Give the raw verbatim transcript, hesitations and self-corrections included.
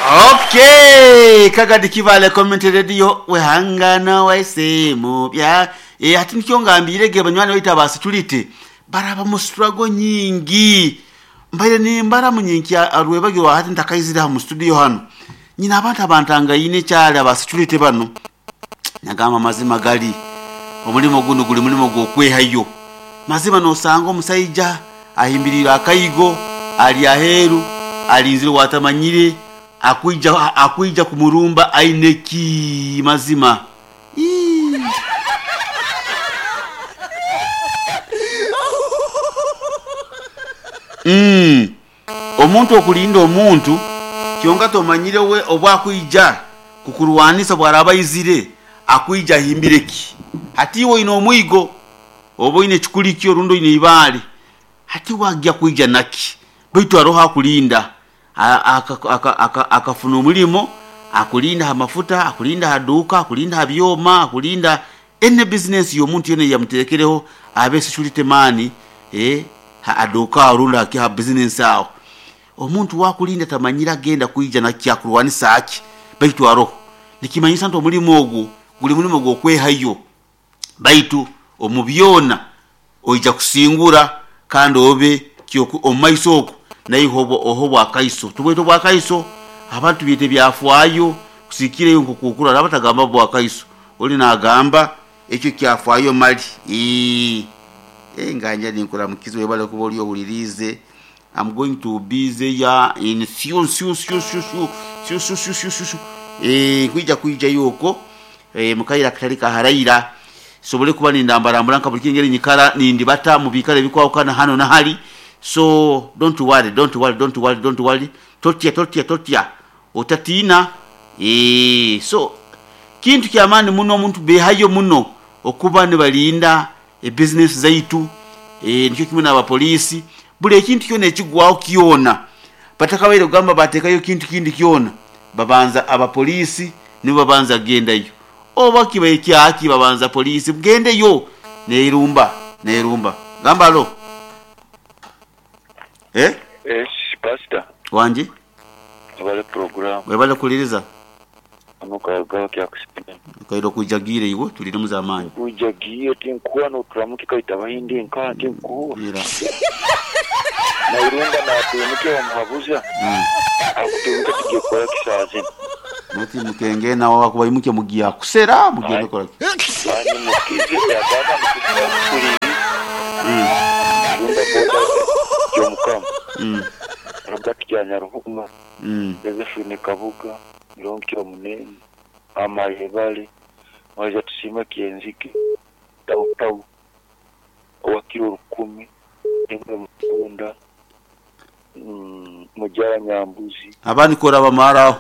Okay, Kagadi Kibale Community Radio wehangana waisemu bya e, hati nikyo ngambire ge banywani baita ba security baraba mu struggle nyingi mbaire ni mbara munyinkya arwebagyo hati ntakaizira mu studio hano nyina abantu abantangayine cyale aba security bano nagamba mazima gali omulimo guno guli mulimo gwokwehayo mazima nosanga omusaija ahimbirira akaigo ali aheru alinzire watamanyire akuija akuija kumurumba aineki mazima. Ii. Mm. Omuntu okulinda omuntu kyonka tomanyire we obwakuija kukurwanisa bwaraba izire akuija himbireki hati iwe ino omwigo oba ine kikulikyo rundo ine ibale hati wagya kuija naki baitu aroho akulinda akafuna omulimo akulinda ha mafuta akulinda ha duka akulinda ha byoma akulinda ene business y'omuntu yene yamuterekereho abe security man eh ha aduka arunda ha business aho omuntu wakulinda tamanyira genda kuija naki akurwanisa aki baitu aroho nikimanyisa nti omulimo ogwo guli mulimo gwokwehayo baitu omubyona oija kusingura kandi obe omumaiso okwo naye oho bwakaiso tubwete bwakaiso abantu byete byafwayo kusikireyo nkukukura abatagamba bwakaiso oli nagamba ekyo kyafwayo mali ee eh nganja ninkora mukizo webale kuba oli obulirize. I'm going to be there in few few few few few few few few few eh kuija kuija yoko eh mukaira katalika haraira sobole kuba nindambarambura nka buli kingeri nyikara nindibata mu bikale bikwawukana hano na hali. So don't worry, don't worry, don't worry, don't worry. Totya totya totya otatina eh so kintu kyamani muno omuntu behayo muno okuba ne balinda e business zaitu eh nikyo kimwe n'abapolisi buli ekintu kyona ekigwaho kyona batakabaire kugamba batekayo kintu kindi kyona babanza abapolisi nibo babanza gendayo oba kibaye kyaki babanza polisi mgendeyo neirumba neirumba gamba lo eh eh pastor wanje abale program webale kuliriza amuka kya kusipina kairo kujagire iwo tulire muzamani kujagiye tinkuwa no turamuke kaita bahindi nka tinkuwa ira nairunga na tumuke omuhabuza mm. akuturuka tujye kora kisaze nati mukenge nawo akuba imuke mugiya kusera mugende kora ani mukize yagaba mukuri mm runda boda jomukam mm Robert Kyanyaruhuma mm Josephine Kabuga Mirongo Munene Amayebale Mwaza tusima kienziki Tau tau Wakiro rukumi Emwe mukunda mm, Mujara Nyambuzi abandi kora bamaraho